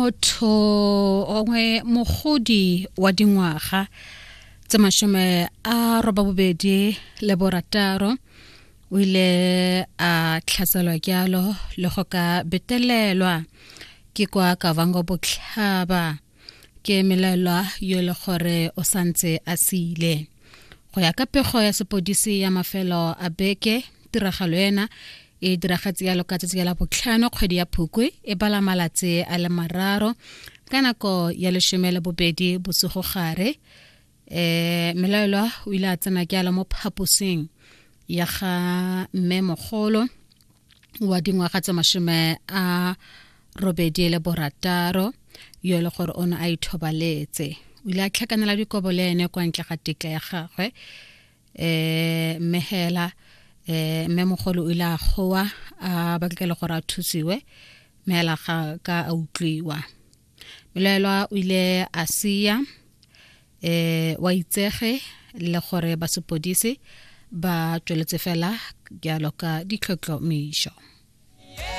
Motho ongwe mogodi wa dingwaga tse 86 o ile a tlhaselwa jalo le go ka betelelwa ke kwa Kavango Botlhaba. Ke melaelwa yo e le gore o santse a sile. Go ya ka pego ya sepodisi ya mafelo a beke, tiragalo ena e diragatse yalo ka tsatsi la botlhano kgwedi ya Phukwi e bala malatsi a le 3 ka nako ya 12 bosigo gare. Melaelwa o ile a tsena ke ala mo phaposing ya ga mme mogolo wa dingwaga tse 86 yo e le gore o ne a ithobaletse. O ile a tlhakanela dikobo le ene kwa ntle ga tetla ya gagwe, mme hela mme mogolo o ile a goa a batla le gore a thusiwe, mme hela ga ka a utlwiwa. Melaelwa o ile a sia wa itsege le gore ba sepodisi ba tsweletse fela jalo ka ditlhotlhomišo.